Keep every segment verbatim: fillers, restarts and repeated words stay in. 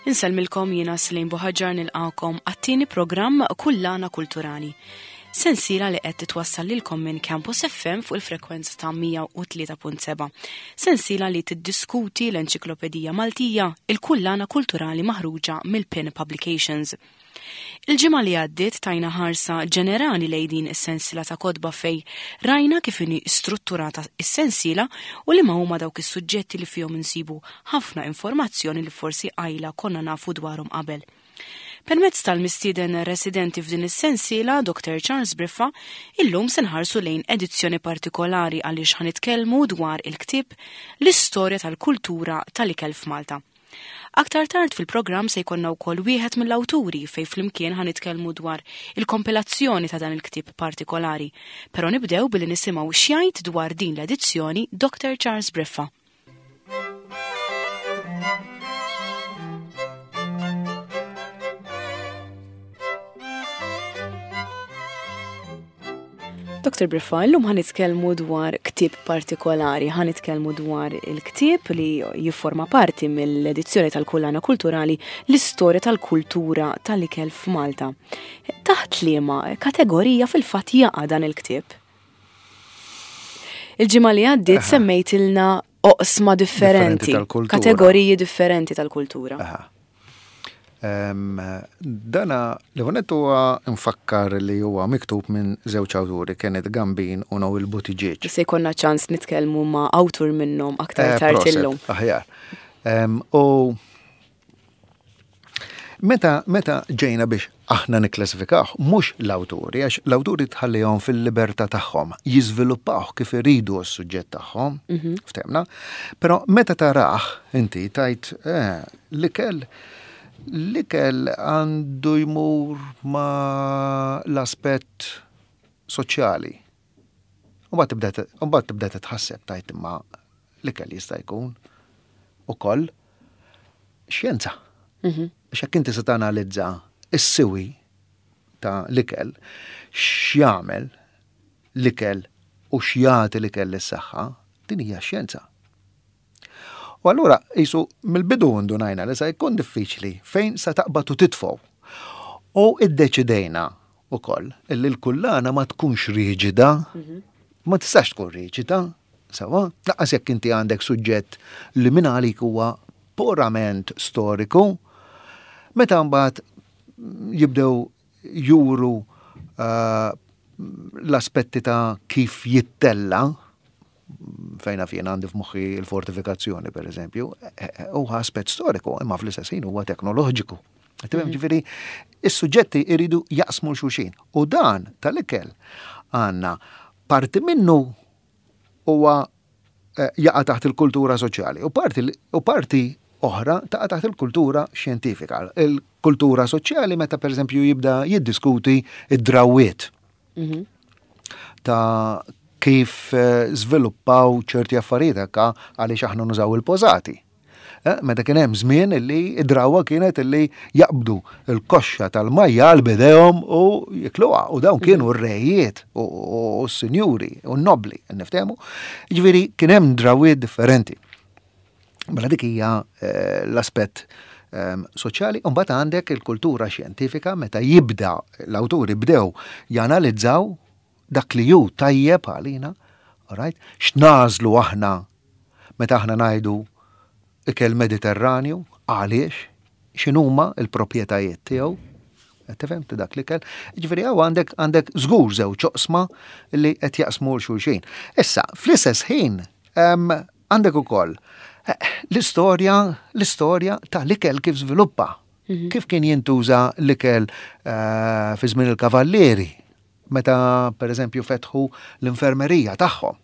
Insellmilkom, jiena Celine Buhagiar, nilqagħkom għat-tieni programm Kullana Kulturali. Sensiela li qed titwassal lilkom minn Campus F M fuq il-frekwenza ta' mija u tlieta punt seba'. Sensiela li tiddiskuti l-Enċiklopedija Maltija, il-Kullana Kulturali maħruġa mill-Pin Publications. Il-ġimgħa li għaddiet tajna ħarsa ġenerali lejn din is-sensiela ta' kotba, fej rajna kif inhi strutturata is-sensiela u li ma huma dawk is-suġġetti li fihom insibu ħafna informazzjoni li forsi qajla konna nafu dwarhom qabel. Permezz tal-mistieden residenti f'din is-sensiela, Doctor Charles Briffa, illum se nħarsu lejn edizzjoni partikolari għaliex ħa nitkellmu dwar il-ktieb L-Istorja tal-Kultura tal-Ikel f'Malta. Aktar tard fil-programm se jkollna wkoll wieħed mill-awturi, fej flimkien ħa nitkellmu dwar il-kompilazzjoni ta' dan il-ktieb partikolari. Però nibdew billi nisimgħu x'jgħid dwar din l-edizzjoni Doctor Charles Briffa. Doctor Briffa, illum ħa nitkellmu dwar ktieb partikolari, ħa nitkellmu dwar il-ktieb li jifforma parti mill-edizzjoni tal-Kullana Kulturali, L-Istorja tal-Kultura tal-Ikel f'Malta. Taħt liema kategorija fil-fatt jaqa' dan il-ktieb? Il-ġimgħa li għaddiet semmejtilna oqsma differenti, tal-kultura. Kategoriji differenti tal-kultura. Aha. Em, Dana l-ewwelnett huwa nfakkar li huwa miktub minn żewġ awturi, Kenneth Gambin u Noel Buttigieg. Se jkollna ċans nitkellmu ma' awtur minnhom aktar Eh, tard proset, illum. Aħjar. Em, U meta, meta ġejna biex aħna nikklassifikaw, mhux l-awturi, għax l-awturi tħallihom fil-libertà tagħhom, jiżviluppaw kif iridu s-suġġett tagħhom, ftehmna, però meta tarah inti tajt eh, l-ikel l-ikel għandu jmur ma l-aspett soċjali. U mbagħad tibda u mbagħad tibda titħasseb, tajt imma l-ikel jista' jkun ukoll xjenza. Għax jekk inti se tanalizza is-siwi ta' l-ikel, x'jagħmel l-ikel u x'jagħti l-ikel lis-saħħa, din hija xjenza. U allura jisu mill-bidu ndunajna li se jkun diffiċli fejn sa taqbad u titfgħu. U iddeċidejna ukoll illi l-kullana ma tkunx riġida, ma tistax tkun riġida, sewwa, lanqas jekk inti għandek suġġett li minn għalik huwa purament storiku, meta mbagħad jibdew juru uh, l-aspetti ta' kif jittella, fejna fjena għandi f'moħħi il-fortifikazzjoni, per eżempju, huwa aspett storiku, imma fl-istess ħin huwa teknoloġiku. Tifhem, ġifieri, is-suġġetti iridu jaqsmu xulxin. U dan tal-ikel għandna parti minnu huwa eh, jaqa' taħt il-kultura soċjali u parti, u parti oħra taqa' taħt il-kultura xjentifika. Il-kultura soċjali meta per eżempju jibda jiddiskuti id-drawiet ta' kif eh, żviluppaw ċerti affarijiet hekk għaliex aħna nużaw il-pożati. Eh, Meta kien hemm żmien illi id-drawa kienet illi jaqbdu il-koxxa tal-majjal b'idejhom u jikluha, u dawn kienu r-rejiet u u s-sinjuri u n-nobli, niftehmu. Ġifieri kien hemm drawiet differenti. Mela dik hija eh, l-aspett ehm, soċjali, u mbagħad għandek il-kultura xjentifika meta jibda l-awturi bdew janalizzaw dak li hu tajjeb għalina, alright? X'nagħżlu aħna meta aħna ngħidu ikel Mediterranju, għaliex, x'inhuma l-proprjetajiet tiegħu, qed tifhem ta' dak l-ikel. Ġifieri hawn għandek għandek żgur żewġ oqsma li qed jaqsmu 'l xulxin. Issa, fl-istess ħin, em, għandek ukoll eh, l-istorja l-istorja ta' l-ikel kif żviluppa. Kif kien jintuża l-ikel eh, fi żmien il-kavallieri, meta per eżempju fetħu l-infermerija tagħhom.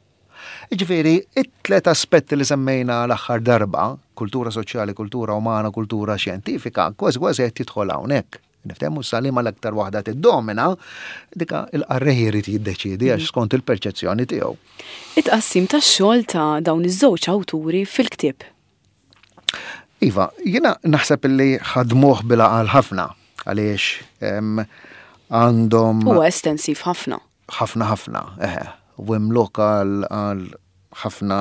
Ġifieri, it-tlet aspetti li semmejna l-aħħar darba, kultura soċjali, kultura umana, kultura xjentifika, kważi kważi qed jidħol hawnhekk. Niftehmu salima l-aktar waħda tiddomina, dika il-qarrej irid jiddeċiedi għax skont il-perċezzjoni tiegħu. It-tqassim tax-xogħol ta' dawn iż-żewġ awturi fil-ktieb. Iva, jiena naħseb li ħadmuh bil-għaqal ħafna għaliex em, għandhom Huwa estensiv ħafna. Ħafna ħafna, eħe, u hemm lokal għal ħafna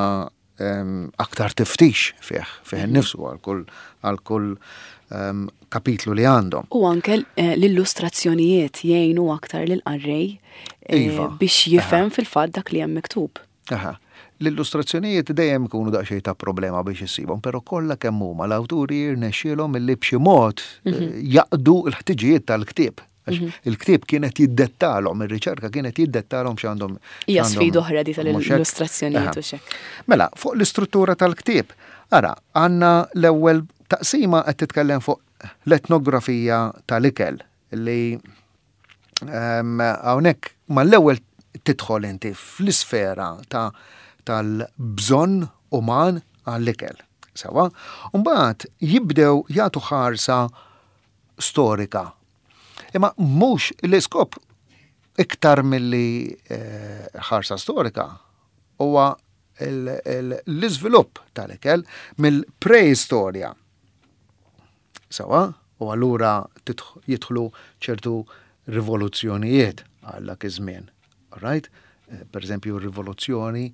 em, aktar tiftix fih, fih innifsu għal kull għal kull em, kapitlu li għandhom. U anke eh, l-illustrazzjonijiet jgħinu aktar lill-qarrej eh, Iva. biex jifhem fil-fatt dak li hemm miktub. Aha. L-illustrazzjonijiet dejjem ikunu daqsxejn ta' problema biex issibhom, però kollha kemm huma l-awturi jirnexxielhom illi b'xi mod eh, jaqdu l-ħtiġijiet tal-ktieb. Għax il-ktieb kienet jiddettalhom, ir-riċerka kienet jiddettalhom x'għandhom. Hija x'għandhom- sfida oħra di mhux hekk? tal-illustrazzjonijiet Aha. u xek. Mela, fuq l-istruttura tal-ktieb, ara, għandna l-ewwel taqsima qed titkellem fuq l-etnografija tal-ikel li em, hawnhekk mal-ewwel tidħol inti fl-isfera ta' tal-bżonn uman għall-ikel. Sewa, mbagħad jibdew jagħtu ħarsa storika. Imma mhux l-iskop iktar milli eh, ħarsa storika huwa il- il- l-iżvilupp tal-ikel mill-preistorja. Sewa, u allura titħ- jidħlu ċertu rivoluzzjonijiet għal dak iż-żmien. Right? Eh, Per eżempju, rivoluzzjoni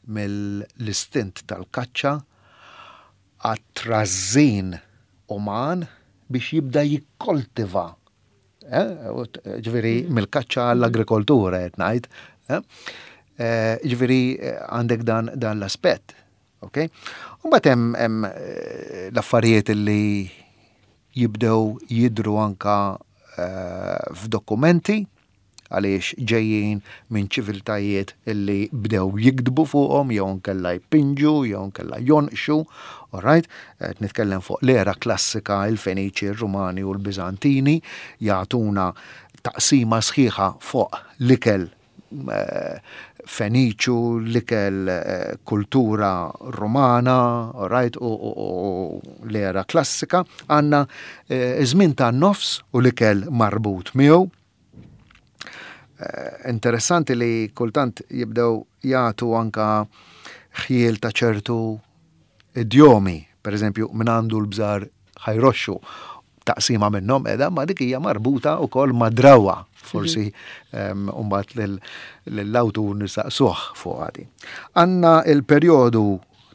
mill-istint tal-kaċċa għat-trażżin uman biex jibda jikkoltiva. Eh, u t- Ġifieri, mill-kaċċa għall-agrikoltura, qed ngħid. eh? Eh, Ġifieri, eh, għandek dan, dan l-aspett. Ok? U mbagħad hemm hemm, eh, l-affarijiet li jibdew jidru anka eh, f'dokumenti għaliex ġejjin minn ċiviltajiet illi bdew jiktbu fuqhom jew nkella jpinġu jew nkella jonqxu, alright? Qed nitkellem fuq l-era klassika, il-Feniċi, il-Rumani u l-Biżantini jagħtuna taqsima sħiħa fuq l-ikel eh, Feniċu, l-ikel eh, kultura romana, alright, u, u, u l-era klassika, għandna eh, żmien ta' nofs u l-ikel marbut miegħu. Eh, Interessanti li kultant jibdew jagħtu anka ħjiel ta' ċertu idjomi, per eżempju, minn għandu l-bżar ħa jroxxu taqsima minnhom edha, ma dik hija marbuta wkoll ma' drawa, forsi um, mbagħad lill-awtur nistaqsuh fuq għadi. Għandna il-perjodu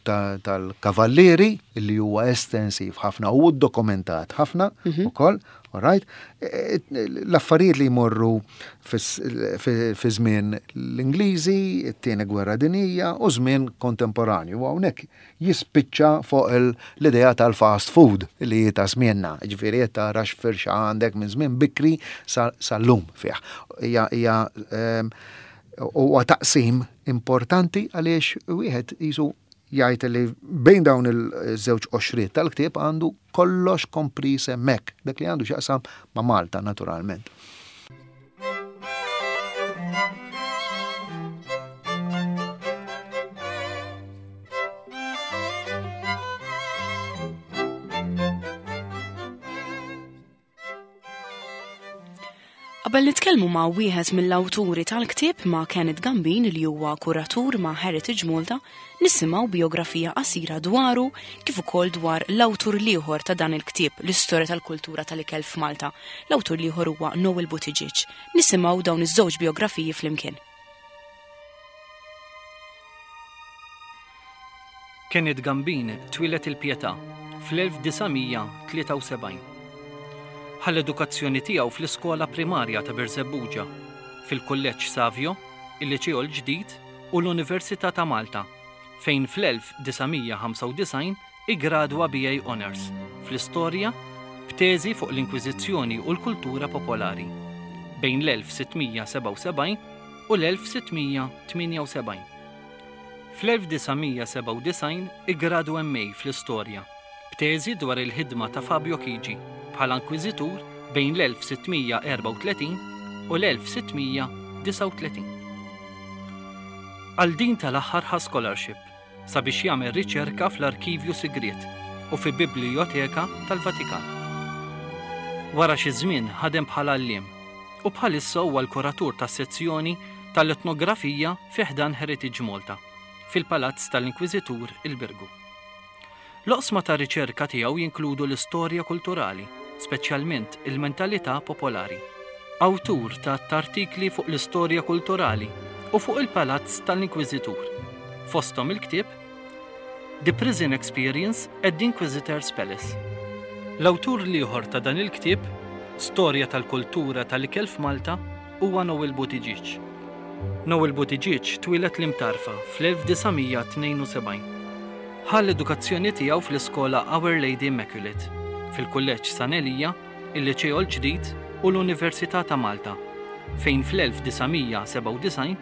ta- tal-kavallieri li huwa estensiv ħafna u dokumentat ħafna ukoll, all right? E, e, L-affarijiet li jmorru fis- fi fi żmien l-Ingliżi, it-tieni gwerra dinija u żmien kontemporanju. U hawnhekk jispiċċa fuq il- l-idea tal-fast food li ta' żmienna. Ġifieri qed tara x'firxa għandek minn żmien bikri sa- sal-lum fih. Hija hija em, huwa taqsim importanti għaliex wieħed jisu jgħid li bejn dawn il-żewġ qoxriet tal-ktieb għandu kollox kompris hemmhekk, dak li għandu x'jaqsam ma' Malta naturalment. Qabel nitkellmu ma' wieħed mill-awturi tal-ktieb ma' Kenneth Gambin li huwa kuratur ma' Heritage Malta, nisimgħu biografija qasira dwaru kif ukoll dwar l-awtur l-ieħor ta' dan il-ktieb, l-istorja tal-kultura tal-ikel f'Malta. L-awtur l-ieħor huwa Noel Buttigieg. Nisimgħu dawn iż-żewġ biografiji flimkien. Kenneth Gambin twieled il-Pietà fl-elf disa' mija tlieta u sebgħin. Ħa l-edukazzjoni tiegħu fl-iskola primarja ta' Birżebbuġa, fil-Kulleġġ Savio, il-Liċeo l-Ġdid u l-Università ta' Malta, fejn fl-elf disa' mija ħamsa u disgħin iggradwa B A Honours fl-istorja b'teżi fuq l-Inkwiżizzjoni u l-kultura popolari bejn l-elf sitt mija sebgħa u sebgħin u l-elf sitt mija tmienja u sebgħin. Fl-elf disa' mija sebgħa u disgħin iggradwa M A fl-istorja b'teżi dwar il-ħidma ta' Fabio Chigi bħala inkwiżitur bejn l-elf sitt mija erbgħa u tletin u l-elf sitt mija disgħa u tletin. Għal din tal-aħħar ħa scholarship sabiex jagħmel riċerka fl-Arkivju Sigriet u fi Biblioteka tal-Vatikan. Wara xi żmien ħadem bħala għalliem u bħalissa huwa l-kuratur tas-sezzjoni tal-etnografija fi ħdan Heritage Malta fil-Palazz tal-Inkwiżitur il-Birgu. L-oqsma ta' riċerka tiegħu jinkludu l-istorja kulturali, speċjalment il-mentalità popolari. Awtur ta' artikli fuq l-istorja kulturali u fuq il-Palazz tal-Inkwiżitur. Fosthom il-ktieb The Prison Experience at the Inquisitor's Palace. L-awtur l-ieħor ta' dan il-ktieb, Storja tal-Kultura tal-Ikel f'Malta, huwa Noel Buttigieg. Noel Buttigieg twieled l-Imtarfa fl-elf disa' mija tnejn u sebgħin. Ħa l-edukazzjoni tiegħu fl-iskola Our Lady Immaculate, fil-Kulleġġ San Elija, il-Liċeo l-Ġdid u l-Università ta' Malta, fejn fl-elf disa' mija sebgħa u disgħin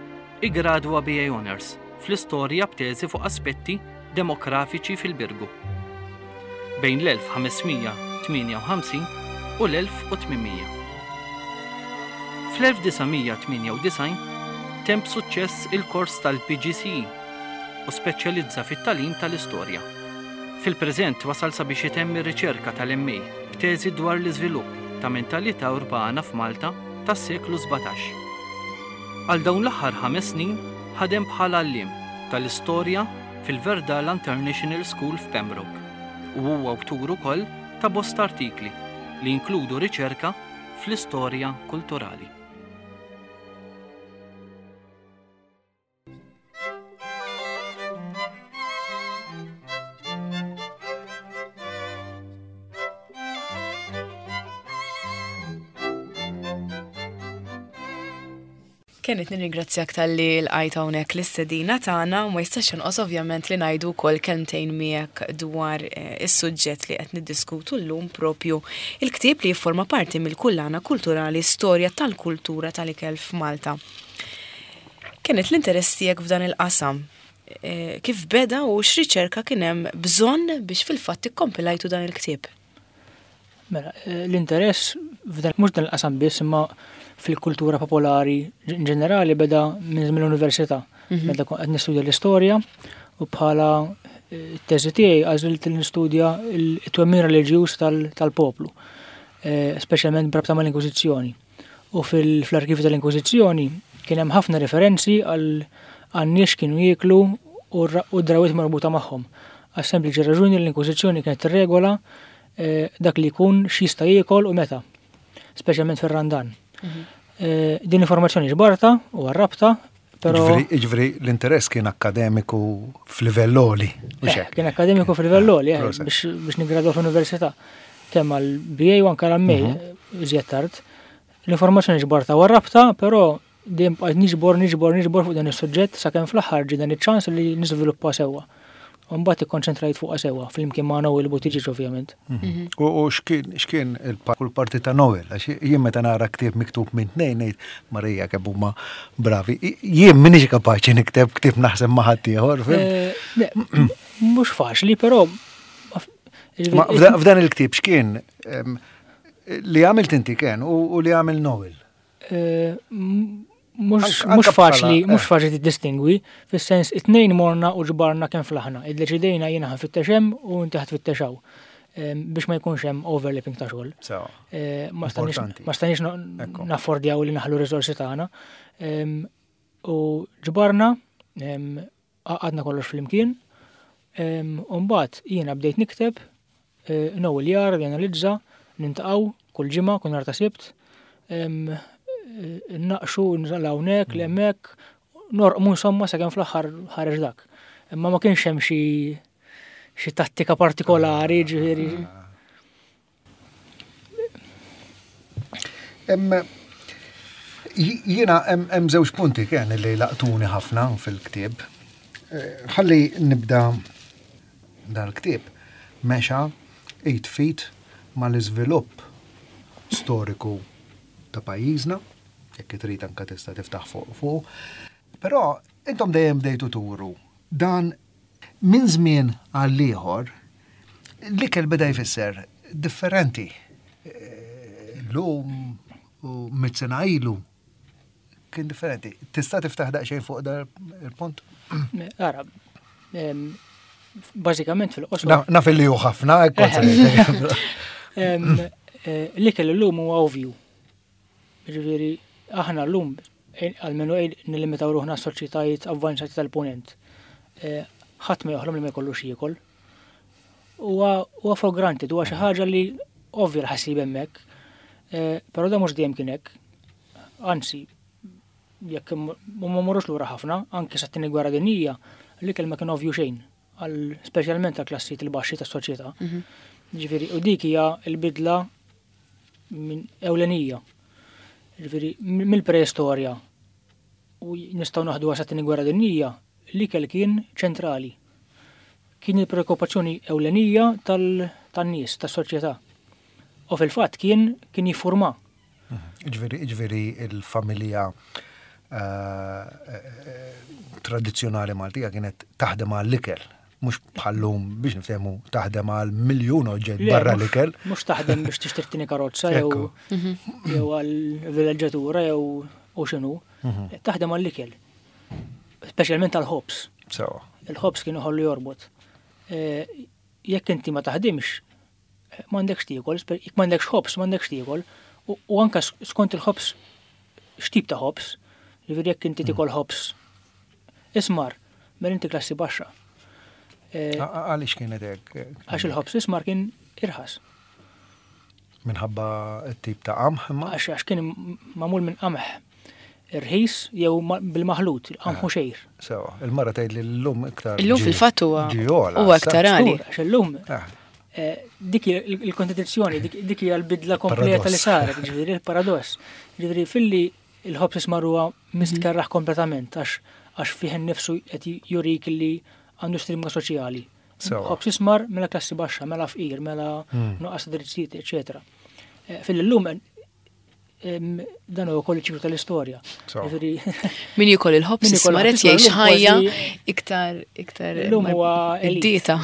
iggradwa B A Honours fl-istorja b'teżi fuq aspetti demografiċi fil-Birgu. Bejn l-elf ħames mija tmienja u ħamsin u l-elf u tmien mija. Fl-elf disa' mija tmienja u disgħin temm b'suċċess il-kors tal-P G C E u speċjalizza fit-tagħlim tal-istorja. Fil-preżent wasal sabiex itemm ir-riċerka tal-M A b'teżi dwar l-iżvilupp ta' mentalità urbana f'Malta tas-seklu sbatax. Għal dawn l-aħħar ħames snin ħadem bħala għalliem tal-istorja fil-Verdala International School f'Pembroke u huwa awtur ukoll ta' bosta artikli li jinkludu riċerka fl-istorja kulturali. Kenneth, nirringrazzjak tal-li l-għajt hawnhekk l-istedina tagħna u ma jistax jonqos ovvjament li ngħidu wkoll kelmtejn miegħek dwar, eh, is-suġġett li qed niddiskutu llum propju il-ktieb li jifforma parti mill-kullana kulturali Storja tal-Kultura tal-Ikel f'Malta. Kenneth, l-interess tiegħek f'dan il-qasam, eh, kif beda u x'riċerka kien hemm bżonn biex fil-fatt ikkompilajtu dan il-ktieb? Mela, eh, l-interess f'dan, mhux dan il-qasam biss, imma fil-kultura popolari in ġenerali beda minn żmien l-università. Mhm. Meta kont qed nistudja l-istorja u bħala, eh, teżi tiegħi għażilt li nistudja il-, it-twemmin reliġjuż tal-, tal-poplu, eh, speċjalment b'rabta mal-Inkwiżizzjoni. U fil-, fl-arkivju tal-Inkwiżizzjoni kien hemm ħafna referenzi għal, għal nies kienu jieklu u r-, u drawwiet marbuta magħhom. Għas sempliċi raġuni li l-Inkwiżizzjoni kienet tirregola, eh, dak li jkun x'jista' jiekol u meta, speċjalment fir-Randan. Mhm. Eh, din informazzjoni ġbarta u għarrabta, però Ġifieri, ġifieri l-interess kien akkademiku f'livell għoli, u Eh, x'hekk? Kien akkademiku f'livell għoli, eh, Proset. biex, biex niggradwa fl-università. Kemm għal B A u anke għal M A, Mhm. iżjed tard. L-informazzjoni ġbarta u għarrabta, però dejjem bqajt niġbor, niġbor, niġbor fuq dan is-suġġett sakemm fl-aħħar ġie dan iċ-ċans li niżviluppa sewwa. U mbagħad ikkonċentrajt fuqha sewwa flimkien ma' Noel Buttigieg ovvjament. Mhm. U, u x'kien, x'kien il-pa-, kull parti ta' Noel, għax jien meta nara ktieb miktub minn tnejn ngħid Marija kemm huma bravi. I-, jien m'iniex kapaċi nikteb ktieb naħseb ma' ħadd ieħor, fim? Eh, le, mhux faċli, però ma f-, jiġifieri Ma f'da-, f'dan il-ktieb x'kien, em, li għamilt inti kien u, u li għamil Noel? Eh, m-, mhux, Anka mhux faċli, bħala, mhux eh. faċli tiddistingwi, fis-sens it-tnejn morna u ġbarna kemm flaħna. Iddeċidejna jiena ħanfittex hemm u inti ħatfittex hawn. Em, biex ma jkunx hemm overlapping ta' xogħol. Sewa. Eh, ma stanix, Importanti. ma stanix no-, Ekku. naffordjaw li naħlu riżorsi tagħna. Em, u ġbarna, em, għadna kollox flimkien. Em, u mbagħad jiena bdejt nikteb, eh, Noel jar, janalizza, nintaqgħu kull ġimgħa, kull nhar ta' Sibt. Em, eh, naqxu, nżalla hawnhekk, Mm. l-hemmhekk, norqmu insomma sakemm fl-aħħar ħareġ dak. Imma ma kienx hemm xi, xi tattika partikolari, ġifieri. Hemm, j-, jiena hemm, hemm żewġ punti kien li laqtuni ħafna fil-ktieb. Eh, ħalli nibda dal-ktieb mexa eight feet mal-iżvilupp storiku ta' pajjiżna, jekk trid anke tista' tiftaħ fuq fuq. Però intom dejjem bdejtu turu dan minn żmien għal ieħor l-ikel beda jfisser differenti. Eh, llum u mitt sena ilu kien differenti. Tista' tiftaħ daqsxejn fuq dan il-punt? Ara, em, bażikament fil-qosor. Na-, naf li hu ħafna, hekk kont se ngħidlek. Em, eh, l-ikel illum huwa ovvju. Ġifieri, aħna llum, eh, almenu ej nilimitaw ruħna s-soċjetajiet avvanzati tal-punent. Eh, ħadd ma joħlom li ma jkollux jiekol. Huwa, huwa for granted, huwa xi ħaġa li ovvja l-ħassib hemmhekk. Eh, però da mhux dejjem kien hekk. Anzi, jekk ma mmorrux lura ħafna, anke sa t-tieni gwerra dinjija, l-ikel ma kien ovvju xejn. għal speċjalment għal klassijiet il-baxxi tas-soċjetà. Ġifieri, u dik hija l-bidla minn ewlenija. Ġifieri, mill-preistorja u nistgħu naħdu għas Gwerra Dinjija, l-ikel kien ċentrali. Kien il-preokkupazzjoni ewlenija tan-nies, tas-soċjetà. U fil-fatt kien kien jiffurma. Ġifieri, ġifieri il-familja eh, eh, tradizzjonali Maltija kienet taħdem għall-ikel, mhux bħal-lum biex niftehmu taħdem għal miljun oġġett barra l-ikel. Mhux taħdem biex tixtri tieni karozza jew jew għal vileġġatura jew u x'inhu. Mhm. Taħdem għall-ikel. Speċjalment għall-ħobż. Sewa. Il-ħobż kien iħollu jorbot. Eh, jekk inti ma taħdimx, m'għandekx tiekol, jekk m'għandekx ħobż, m'għandekx tiekol. U anka skont il-ħobż, x'tip ta' ħobż, jiġifieri jekk inti tiekol ħobż ismar, mela inti klassi baxxa. Eh, Għaliex kienet hekk? Għax il-ħobż ismar kien irħas. Minħabba t-tip ta' qamħ imma? Għax għax kien magħmul minn qamħ irħis jew bil-maħlut, il-qamħ u xgħir. Sewa, il-mara tgħid li llum iktar. Illum fil-fatt huwa huwa aktar għali. Għax illum eh. eh, dik il-kontradizzjoni, dik hija l-bidla kompleta li saret, ġifieri il-paradoss. Ġifieri filli il-ħobż ismar huwa mistkerraħ kompletament għax għax fih innifsu qed jurik li għandu stigma soċjali. Ħobż ismar mela klassi baxxa, mela fqir, mela hmm. nuqqas drittijiet, eċetera. Eh, fil-lum dan huwa wkoll ċiklu tal-istorja. Min jiekol il-ħobż ismar qed jgħix ħajja iktar iktar Illum huwa id-dieta.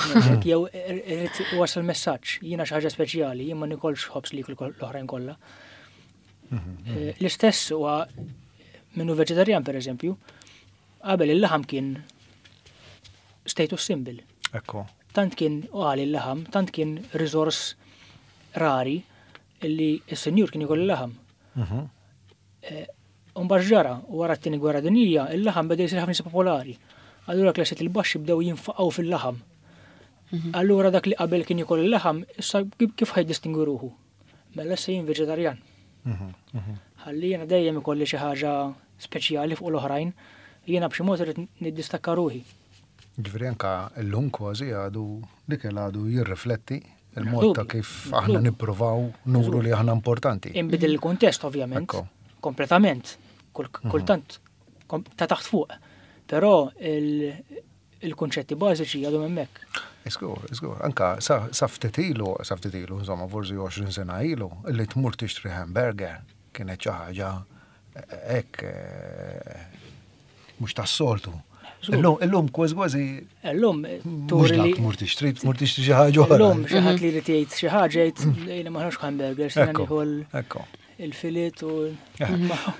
Jew irid wasal messaġġ, jiena xi ħaġa speċjali, jien ma nikolx ħobż li jieklu l-oħrajn kollha. Mhm, mhm. Eh, l-istess huwa minnu veġetarjan per eżempju, qabel il-laħam kien status symbol. Ekku. Tant kien għali il-laħam, tant kien resource rari illi s-senjur kien jiekol il-laħam. Mhm. Eh, Umbagħad ġara, wara t-tieni gwerra dinjija, il-laħam beda jsir ħafna popolari. Allura klassijiet il-baxxi bdew jinfaqgħu fil-laħam. Mhm. Allura dak li qabel kien jiekol il-laħam, issa kif ħa jiddistingwi ruħu? Mela issa jien veġetarjan. Mhm, Ħalli jiena dejjem ikolli xi ħaġa speċjali fuq l-oħrajn, jiena b'xi mod irid niddistakka ruħi. Ġifieri anka llum kważi għadu l-ikel għadu jirrifletti il-mod ta' kif aħna nippruvaw nuru li aħna importanti. Inbidel il-kuntest ovvjament, kompletament, mhm. kultant ta' taħt fuq. Però il-kunċetti bażiċi għadhom hemmhekk. Żgur, żgur. Anka sa ftit ilu, sa ftit ilu, insomma, forsi għoxrin sena ilu, illi tmur tixtri hamburger kienet xi ħaġa hekk eh, mhux tas-soltu. Illum, illum kważi kważi. Illum turi li. Tmur tixtri, tmur tixtri xi ħaġa oħra. Illum xi ħadd li jrid jgħid xi ħaġa jgħid jiena ma ħax hamburger, se nieħu il-filet u.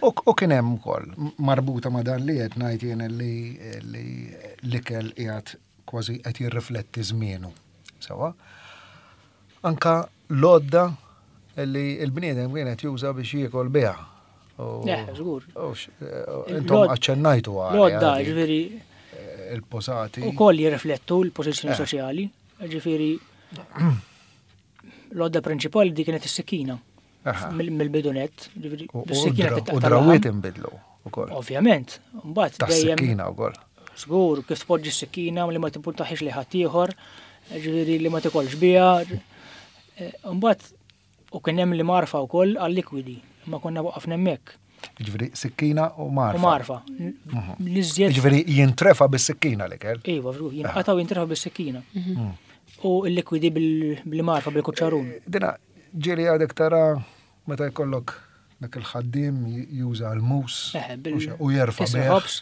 U kien hemm ukoll marbuta ma' dan li qed ngħid jien li l-ikel qiegħed kważi qed jirrifletti żmienu. Sewa. Anka l-għodda li l-bniedem kienet juża biex jiekol biha. Żgur. Intom aċċennajtu għal. L-għodda, ġifieri. Il-posati. U koll jirriflettu l-pożizzjoni soċjali. Ġifieri, l-għodda prinċipali di kienet is-sikkina. Mill-bidunet. U drawiet inbidlu ukoll. Ovvjament. Mbagħad dejjem. Tas-sikkina wkoll. Żgur, kif tpoġġi s-sikkina li ma tippuntaħiex li ħadd ieħor, ġifieri li ma tikolx biha. Mbagħad u kien hemm li marfa wkoll għal-likwidi, ma konna waqafna hemmhekk. Ġifieri sikkina u marfa. U marfa. Mhm. Ġifieri jintrefa bis-sikkina l-ikel. Iva, jinqata' u jintrefa bis-sikkina. Mhm. U l-likwidi bil-marfa, bil-kuċċarun. Eh, dina, ġieli għadek tara meta jkollok dak il-ħaddiem juża l-mus u jerfa' ħobż,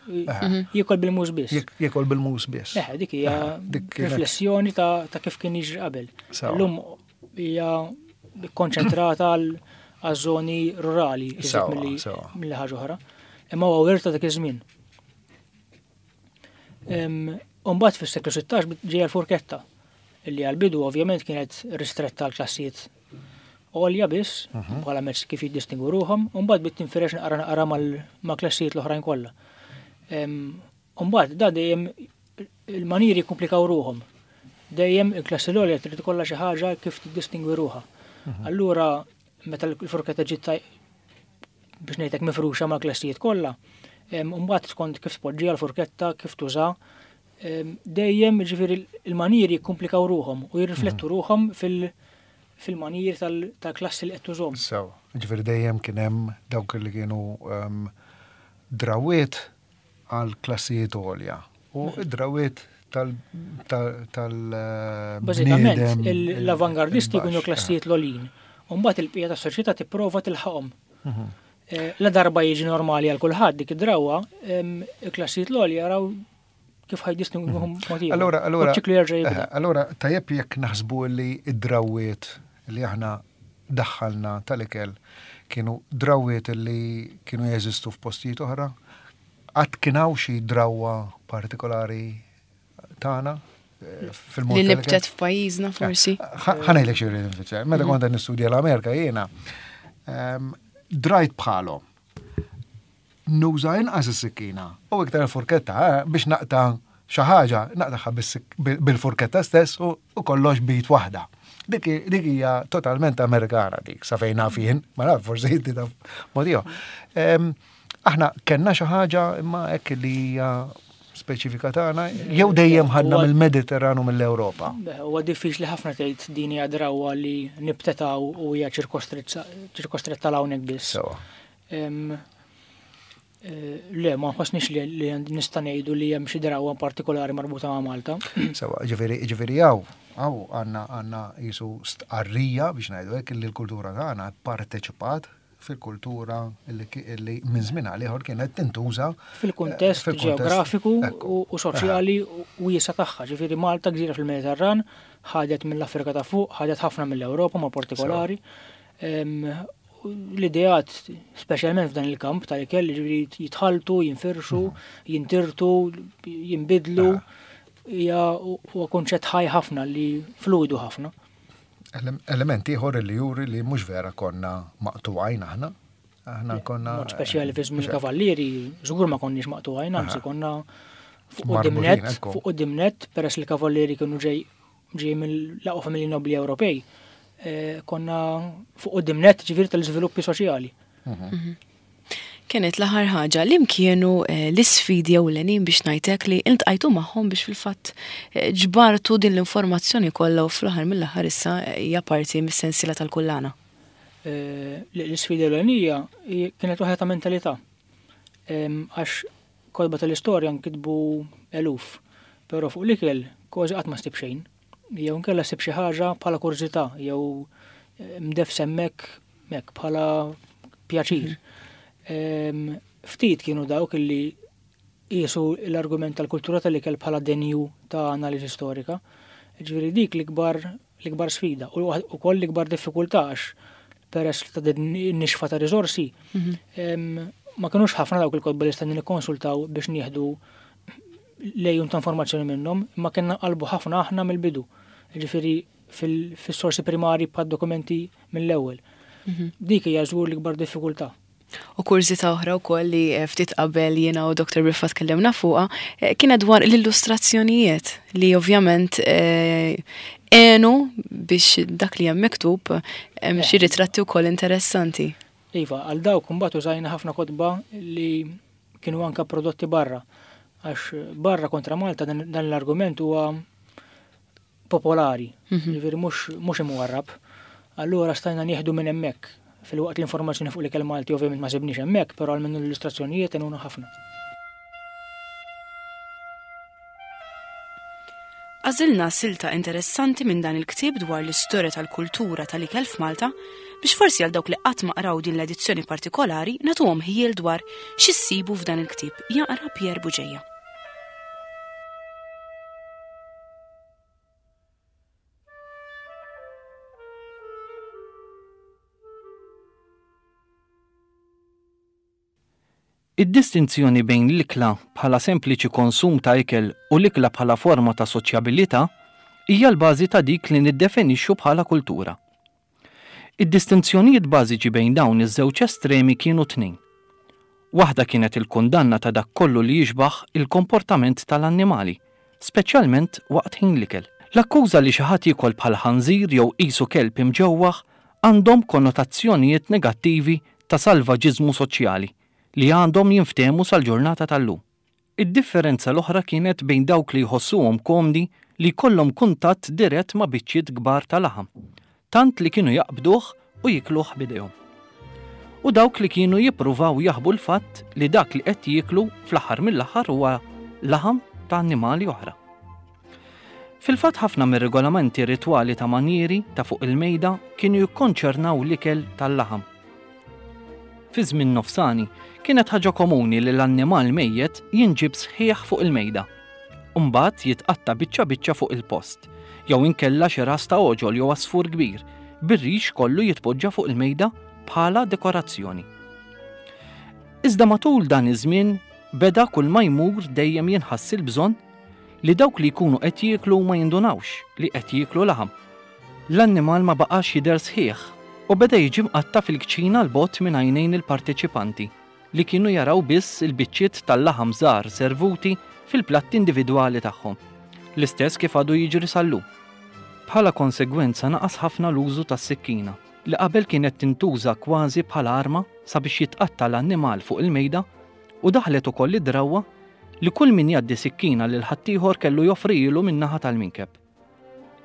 jiekol bil-mus biss. Jiekol bil-mus biss. Eħe, dik hija riflessjoni ta' kif kien jiġri qabel. Illum hija konċentrata għal żoni rurali milli ħaġa oħra. Imma huwa wirt ta' dak iż-żmien. Umbagħad fis-seklu sittax ġejja l-furketta, illi għal-bidu ovvjament kienet ristretta għal klassijiet għolja biss, mhm. bħala mezz kif jiddistingwu ruħhom, u mbagħad bdiet tinfirex naqra naqra ma' klassijiet l-oħrajn kollha. Umbagħad da dejjem il-maniri jikkumplikaw ruħhom. Dejjem il-klassi l-għolja trid ikollha xi ħaġa kif tiddistingwi ruħha. Mhm. Allura meta l-furketta ġiet biex ngħidlek mifruxa ma' klassijiet kollha, mbagħad skont kif tpoġġiha l-furketta, kif tuża, Dejjem, ġifieri, il-maniri jikkomplikaw ruħhom u jirriflettu mhm. ruħhom fil-maniri tal-klassi li qed tużhom. So, ġifieri dejjem kien hemm dawk li kienu um, drawiet għal klassijiet għolja u id-drawiet tal tal Bażikament, l-avangardisti jkunu klassijiet l-għoljin. U mbagħad il-bqija tas-soċjetà tipprova tilħaqhom. Mhm. Eh, la darba jiġi normali għal kulħadd dik id-drawwa, il-klassijiet l-għolja jaraw kif ħa jdistingwuhom mod ieħor. Allora, allora, eh, allora tajjeb jekk naħsbu li id-drawiet li aħna daħħalna tal-ikel kienu drawiet li kienu jeżistu f'postijiet oħra? Qatt kien hawn xi drawwa partikolari tagħna eh, fil-mod Li nibtet f'pajjiżna forsi. Ħa ngħidlek xi rrid nfisser. Meta kont qed nistudja l-Amerika jiena, ehm, drajt bħalhom. Nuża inqas is-sikkina u iktar il-furketta eh, biex naqta' xi ħaġa, naqtaha bil-furketta stess u kollox b'id waħda. Dik dik hija totalment Amerikana dik, sa fejn naf jien, ma naf forsi inti taf mod ieħor. Ehm, Aħna kellna xi ħaġa imma hekk li hija speċifika tagħna jew dejjem ħadna mill-Mediterranu mill-Ewropa. Huwa diffiċli ħafna tgħid din hija drawwa li nibtet hawn u hija ċirkostretta hawnhekk biss. Sewa. Em, eh, Le, ma nħossniex li, li nista' ngħidu li hemm xi drawwa partikolari marbuta ma' Malta. Sewa, ġifieri ġifieri hawn hawn għandna għandna jisu stqarrija biex ngħidu hekk li l-kultura tagħna parteċipat fil-kultura li li minn żmien għal ieħor kienet tintuża Fil-kuntest fil-kuntest, ġeografiku ekku. u, u soċjali u wiesa' tagħha. Ġifieri Malta gżira fil-Mediterran, ħadet mill-Afrika ta' fuq, ħadet ħafna mill-Ewropa ma' partikolari. Em, L-ideat, speċjalment f'dan il-kamp tal-ikel, ġifieri jitħaltu, jinfirxu, jintirtu, jinbidlu, hija huwa konċett ħaj ħafna li fluidu ħafna. Ele- Element ieħor li juri li mhux vera konna maqtugħin aħna. Aħna konna Mod speċjali fi żmien kavallieri, żgur ma konniex maqtugħin, anzi konna fuq Marbutin, quddiem nett, ekku. fuq quddiem nett, peress li l-kavallieri kienu ġej ġej mill-aqwa familji nobli Ewropej. eh, Konna fuq quddiem nett ġifieri tal-iżviluppi soċjali. Kienet l-aħħar ħaġa li kienu eh, l-isfidi ewlenin biex ngħidlek li iltqajtu magħhom biex fil-fatt eh, ġbartu din l-informazzjoni kollha u fl-aħħar mill-aħħar issa eh, hija parti mis-sensiela tal-kullana. Eh, L-isfida ewlenija hi- kienet waħda ta' mentalità. Em, Għax kotba tal-istorja nkitbu eluf, però fuq l-ikel kważi qatt ma ssib xejn. Jew inkella ssib xi ħaġa bħala kurżità jew eh, mdef semmek mek bħala pjaċir. Em, Ftit kienu dawk illi qisu l-argument tal-kultura tal-ikel bħala denju ta' analiżi storika. Ġifieri dik l-ikbar l-ikbar sfida u ukoll l-ikbar diffikultà għax peress ta' din nixfa ta' riżorsi em, ma kinux ħafna dawk il-kotba li stajna nikkonsultaw biex nieħdu lejun ta' informazzjoni minnhom, imma kellna qalbu ħafna aħna mill-bidu. Ġifieri fil-sorsi primari bħad dokumenti mill-ewwel. Dik hija żgur l-ikbar diffikultà. U kurżità oħra wkoll li eh, ftit qabel jiena u Dr. Briffa tkellimna fuqha eh, kienet dwar l-illustrazzjonijiet li ovvjament eh, għenu biex dak li hemm miktub hemm xi ritratti wkoll interessanti. Iva, għal dawk imbagħad użajna ħafna kotba li kienu anka prodotti barra. Għax barra kontra Malta dan, dan l-argument huwa popolari, ġifieri mhux mhux imwarrab. Allura stajna nieħdu minn hemmhekk. Filwaqt l-informazzjoni fuq l-ikel Malti ovvjament ma sibniex hemmhekk, però għal l-illustrazzjonijiet għenuna ħafna. Għażilna silta interessanti minn dan il-ktieb dwar l-istorja tal-kultura tal-ikel f'Malta biex forsi għal dawk li qatt ma qraw din l-edizzjoni partikolari nagħtuhom ħjiel dwar x'issibu f'dan il-ktieb jaqra Pierre Buġeja. Id-distinzjoni bejn l-ikla bħala sempliċi konsum ta' ikel u l-ikla bħala forma ta' soċjabilità hija l-bażi ta' dik li niddefinixxu bħala kultura. Id-distinzjonijiet bażiċi bejn dawn iż-żewġ estremi kienu tnejn. Waħda kienet il-kundanna ta' dak kollu li jixbaħ il-komportament tal-annimali, speċjalment waqt ħin l-ikel. L-akkuża li xi ħadd jiekol bħal ħanżir jew qisu kelb imġewwaħ għandhom konnotazzjonijiet negattivi ta' salvaġiżmu soċjali li għandhom jinftehmu sal-ġurnata tal-lum. Id-differenza l-oħra kienet bejn dawk li jħossuhom komdi li jkollhom kuntatt dirett ma' biċċiet kbar ta' laħam, tant li kienu jaqbduh u jikluh b'idejhom. U dawk li kienu jippruvaw jaħbu l-fatt li dak li qed jieklu fl-aħħar mill-aħħar huwa laħam ta' annimali oħra. Fil-fatt ħafna mir-regolamenti ritwali ta' manjieri ta' fuq il-mejda kienu jikkonċernaw l-ikel tal-laħam. Fi żmien nofsani kienet ħaġa komuni li l-annimal mejjet jinġib sħiħ fuq il-mejda. Mbagħad jitqatta' biċċa biċċa fuq il-post, jew inkella xi ras ta' għoġol jew għasfur kbir, bir-rix kollu jitpoġġa fuq il-mejda bħala dekorazzjoni. Iżda matul dan iż-żmien beda kull ma jmur dejjem jinħass il-bżonn li dawk li jkunu qed jieklu ma jindunawx li qed jieklu laħam. L-annimal ma baqax jidher sħiħ u beda jiġi mqatta' fil-kċina 'l bogħod minn għajnejn il-parteċipanti li kienu jaraw biss il-biċċiet tal-laħam żgħar servuti fil-platti individwali tagħhom. L-istess kif għadu jiġri sal-lum. Bħala konsegwenza naqas ħafna l-użu tas-sikkina li qabel kienet tintuża kważi bħala arma sabiex jitqatta' l-annimal fuq il-mejda u daħlet ukoll id-drawwa li kull min jgħaddi sikkina lil ħaddieħor kellu joffrilu min-naħa tal-minkeb.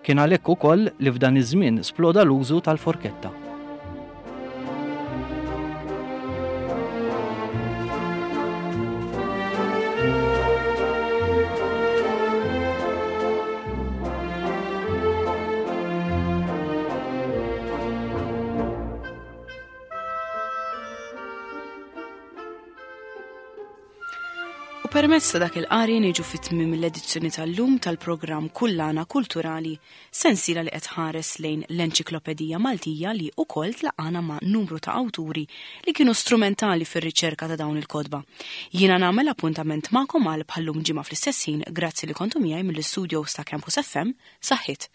Kien għalhekk ukoll li f'dan iż-żmien sploda l-użu tal-forketta. U permezz ta' dak il-qari niġu fit-tmiem l-edizzjoni tal-lum tal-programm Kullana Kulturali, sensiela li qed ħares lejn l-Enċiklopedija Maltija li wkoll tlaqana ma' numru ta' awturi li kienu strumentali fir-riċerka ta' dawn il-kotba. Jiena nagħmel appuntament magħkom għal bħallum ġimgħa fl-istess ħin, grazzi li kontu miegħi mill-istudios ta' Campus F M. Saħħit.